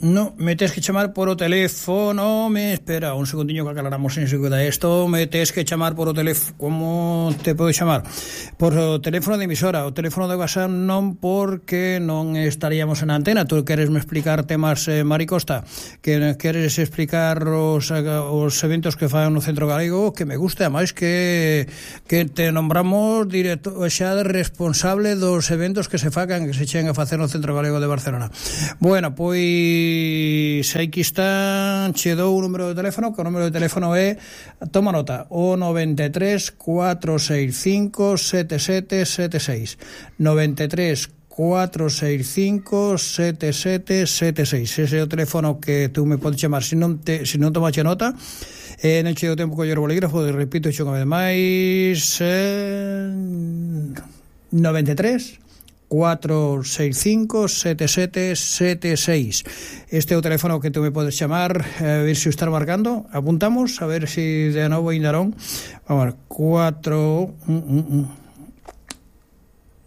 No, me tens que chamar por o teléfono. Espera un segundinho que aclaramos en seguida isto. Me tens que chamar por o teléfono. Como te podo chamar? Por o teléfono de emisora. O teléfono de WhatsApp non, porque non estaríamos en antena. Tú queres me explicar temas, Mari Costa, que queres explicar os eventos que fan no Centro Galego, que me gusta, máis que te nombramos directo xa de responsable dos eventos que se facan, que se chegan a facer no Centro Galego de Barcelona. Bueno, pois aquí está, che dou o número de teléfono, que o número de teléfono é, toma nota, o 93 465 7776 93 465 7776. Ese é o teléfono que tú me podes chamar. Se non tomache nota, non che o tempo coller o bolígrafo, repito xo unha vez máis, 93 465 7776. Este é o teléfono que tú me podes chamar, a ver se o estás marcando. Apuntamos, a ver se de novo ainda non. Vamos,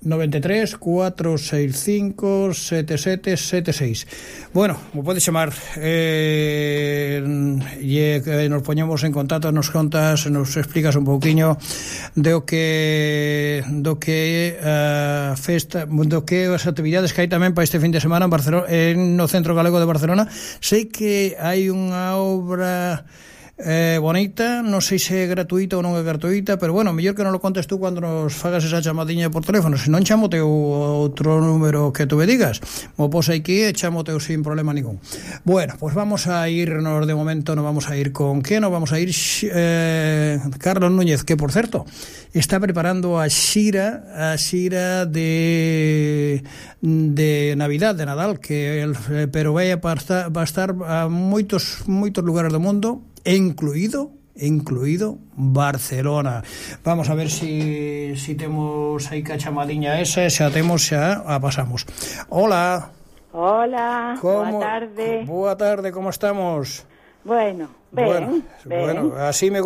93 465 7776. Bueno, me podes chamar, e nos poñemos en contacto, nos contas, nos explicas un pouquiño do que festa, do que as actividades que hai tamén para este fin de semana en Barcelona, no Centro Galego de Barcelona. Sei que hai unha obra bonita, non sei se é gratuita ou non é gratuita, pero bueno, mellor que non lo contes tú cando nos fagas esa chamadiña por teléfono. Se non, chamote o outro número que tú me digas, mo pos aquí e chamote sin problema ningún. Bueno, pues vamos a irnos, de momento nos vamos a ir con ¿qué? Nos vamos a ir Carlos Núñez, que por certo está preparando a xira de Navidad, de Nadal, pero vai a estar a moitos lugares do mundo, incluído Barcelona. Vamos a ver si temos aí que a chamadiña esa, xa temos, xa a pasamos. Hola, boa tarde, como estamos? Bueno, así me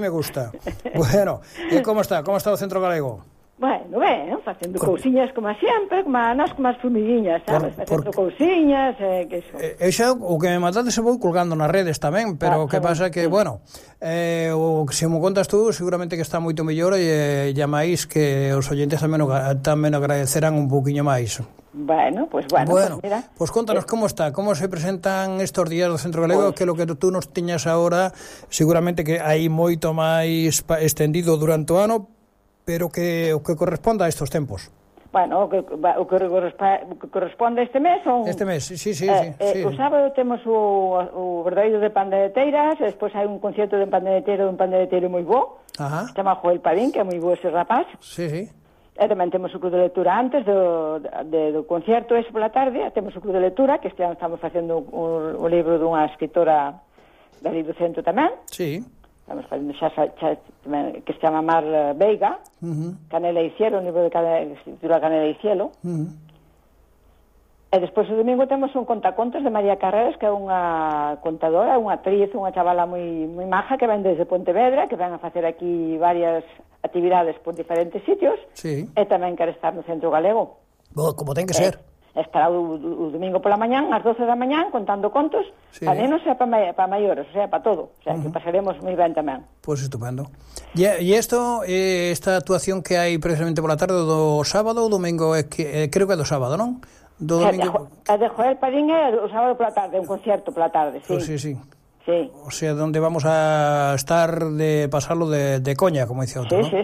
gusta. Bueno, e como está o Centro Galego? Bueno, facendo cousiñas como sempre, como as formiguiñas, sabes? Facendo cousiñas, que iso. Xa, o que me mandades se vou colgando nas redes tamén, pero que pasa que, bueno, o que se mo contas tú, seguramente que está moito mellor, e máis que os oyentes tamén agradecerán un pouquiño máis. Bueno, pues mira. Pues contanos como está, como se presentan estos días do Centro Galego, que lo que tú nos tiñas ahora, seguramente que hai moito máis extendido durante o ano, pero que o que corresponda a estos tempos. Bueno, o que corresponde a este mes son... Este mes, sí. O sábado temos o verdadeiro de pandeireteiras, e despois hai un concierto de pandeireteiro moi bo, se chama Joel Padín, que é moi bo ese rapaz. Sí. E tamén temos o club de lectura antes do concierto ese pola tarde, temos o club de lectura, que este ano estamos facendo o libro dunha escritora da Libro Centro tamén. Sí. Estamos facendo xa que se chama Mar Veiga, Canela e Cielo, un libro que se titula Canela e Cielo. E despois o domingo temos un contacontos de María Carreras, que é unha contadora, unha actriz, unha chavala moi maja, que ven desde Pontevedra, que ven a facer aquí varias actividades por diferentes sitios, e tamén quere estar no Centro Galego. Como ten que ser. Estará o domingo pola mañán, ás 12 da mañán, contando contos, para nenos e para maiores, o sea, para todo. O sea, que pasaremos moi ben tamén. Pois estupendo. E esta actuación que hai precisamente pola tarde do sábado ou domingo, creo que é do sábado, non? Do domingo. A de Joel Padín é o sábado pola tarde, un concierto pola tarde, sí. Pois sí. O sea, donde vamos a estar de pasarlo de coña, como dice outro, ¿no? Sí.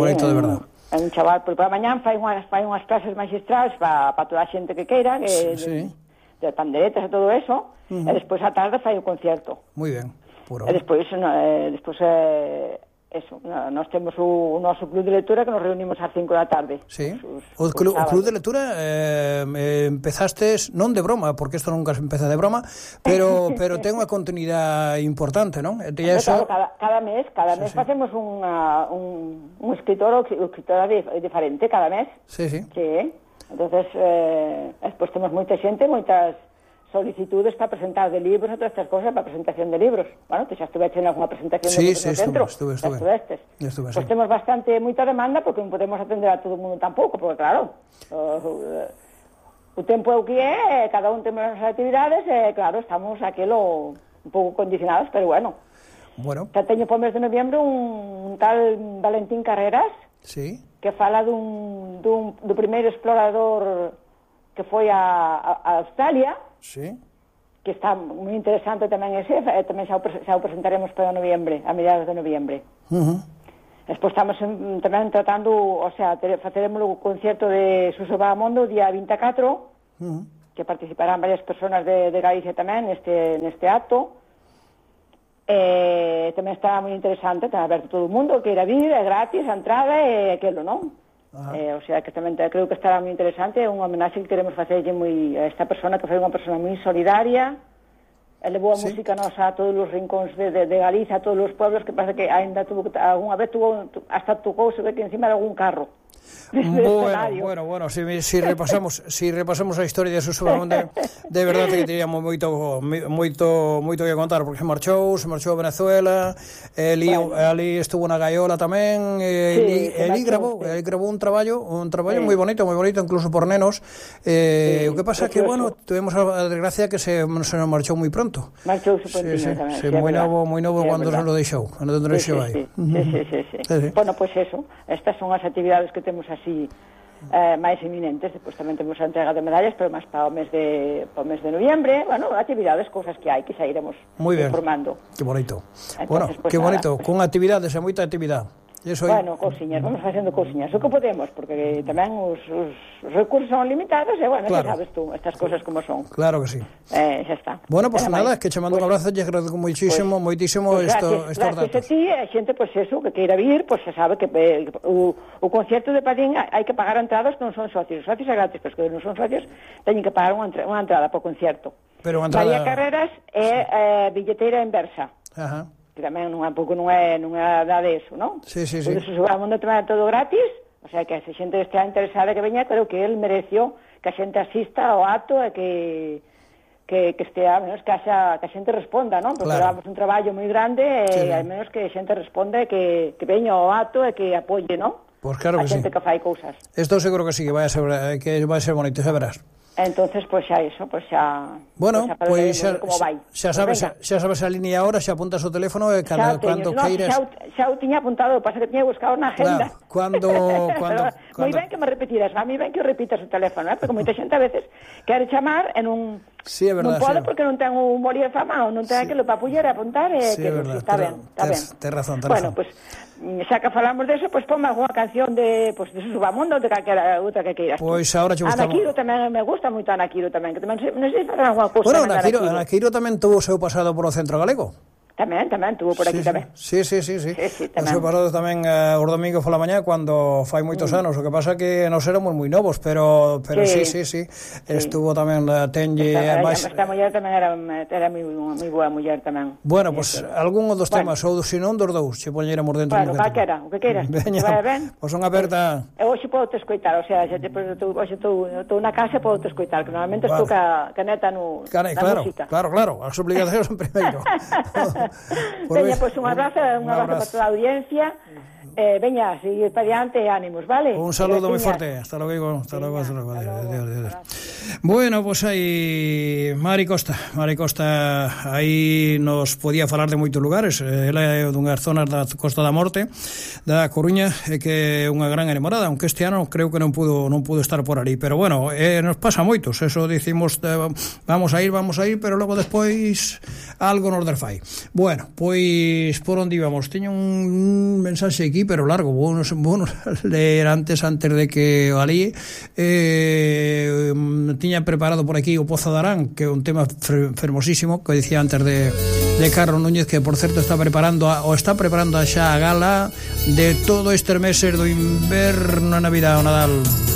Bonito, de verdad. É un chaval, por a mañán fai unhas clases magistrales para toda a xente que queira, de panderetas e todo eso, e despois a tarde fai o concierto. Moi ben. E despois nós temos o noso club de lectura, que nos reunimos ás 5 da tarde. Sí. O club de lectura empezastes non de broma, porque isto nunca se empeza de broma, pero ten unha continuidade importante, non? Claro, cada mes facemos un escritor ou escritora diferente cada mes. Sí. Entonces, despois temos moita xente, moitas solicitudes para presentar de libros e todas estas cosas, para presentación de libros. Bueno, te xa estuve en alguna presentación de libros no centro. Estuve. Pois temos moita demanda, porque non podemos atender a todo o mundo tampouco, porque claro, o tempo é o que é, cada un temos as actividades, e claro, estamos aquilo un pouco condicionados, pero bueno. Xa teño por mes de noviembre un tal Valentín Carreras, sí, que fala do primeiro explorador que foi a Australia, sí, que está moi interesante tamén ese, tamén xa o presentaremos para noviembre, a mediados de noviembre. Despois estamos tamén tratando, o sea, faceremos o concerto de Suso Bahamondo o día 24, que participarán varias personas de Galicia tamén neste acto. Tamén está moi interesante, está aberto todo o mundo, que ir a vir, é gratis, a entrada e aquilo, non? O sea, que tamén creo que estará moi interesante, é unha homenaxe que queremos facerlle a esta persona, que foi unha persona moi solidaria, levou a música nosa a todos os rincóns de Galicia, a todos os pueblos, que pasa que ainda algunha vez hasta tocou, se ve que encima de algún carro. Bueno, si repasamos a historia de Suso Bahamondo, de verdade que teríamos moito que contar, porque se marchou a Venezuela, ali estuvo na Gaiola tamén, ali gravou un traballo moi bonito, incluso por nenos. O que pasa que, bueno, tuvemos a desgracia que se nos marchou moi pronto. Marchouse prontinho tamén. Moi novo cando se lo deixou aí. Sí. Bueno, pois eso, estas son as actividades que temos así máis eminentes. Depois tamén temos a entrega de medallas, pero máis para o mes de noviembre. Bueno, actividades, cousas que hai, que xa iremos informando. Que bonito. Entonces, bueno, que bonito, con actividades e moita actividade. Bueno, cousiñas, vamos facendo cousiñas, o que podemos, porque tamén os recursos son limitados, e bueno, claro, sabes tú, estas cousas como son. Claro que sí. Xa está. Bueno, pues nada, que che mando un abrazo, lle agradezco moitísimo estos datos. Gracias a ti, a xente, pues eso, que queira vir, pues xa sabe que o concerto de Padín hai que pagar entradas que non son socios. Os socios é gratis, pero que non son socios teñen que pagar unha entrada por concierto. María Carreras é billeteira inversa. Ajá. Que tamén non é nada de eso, non? Sí. Por eso o mundo tamén é todo gratis, o sea, que se xente estea interesada que veña, creo que el mereció que a xente asista ao acto e que estea, menos que a xente responda, non? Porque damos un traballo moi grande e al menos que a xente responda e que veña ao acto e que apoie, non? Pois claro que sí. A xente que fai cousas. Isto seguro que sí, que vai a ser bonito, xa verás. Entonces, pues xa eso, pues xa... Bueno, pues xa sabes a línea ahora, xa apuntas o teléfono e cando queiras... Xa o tiña apuntado, pasa que tiña buscado na agenda. Cando... Moi ben que me repetiras, a mí ben que o repitas o teléfono, porque moita xente a veces quere chamar e non... Sí, é verdade. Non pode porque non ten un boli de fama ou non ten aquilo para puller e apuntar e que está ben. Ten razón. Bueno, pues xa que falamos de eso, pues ponme algunha canción de Suso Bahamondo, de calquera outra que queiras. Pois agora che gustamos. Ana Quiro tamén me gusta moito, Ana Quiro tamén, que tamén non sei facer algunha cousa. Bueno, Ana Quiro tamén tuvo o seu pasado por o Centro Galego. Tamén, tuvo por aquí tamén. Sí. O seu pasado tamén os domingos pola mañá, cando fai moitos anos. O que pasa que nos éramos moi novos, pero sí. Estuvo tamén tenlle... Esta muller tamén era moi boa muller tamén. Bueno, pues algún dos temas, ou se non dos dous, se poñéramos dentro. Bueno, calquera, o que queiras. Veña, pois unha aperta... E hoxe podo te escoitar, o sea, hoxe estou na casa e podo te escoitar, que normalmente estou ca neta na música. Claro, as obligacións son primeiro. Veña, pois un abrazo para toda a audiencia. Veña, seguir para diante, ánimos, vale? Un saludo moi forte, hasta logo. Adiós. Bueno, pues aí Mari Costa aí nos podía falar de moitos lugares. Ela é dunhas zonas da Costa da Morte, da Coruña, e que é unha gran enamorada, aunque este ano creo que non pudo estar por ali, pero bueno, nos pasa moitos, eso dicimos, vamos a ir, pero logo despois algo nos desfai. Bueno, pois por onde íbamos? Teño un mensaxe aquí, pero largo, vou leer antes de que o alí tiña preparado por aquí o Pozo de Arán, que é un tema fermosísimo, que dicía antes de Carlos Núñez, que por certo está preparando xa a gala de todo estes meses do inverno, Navidad o Nadal.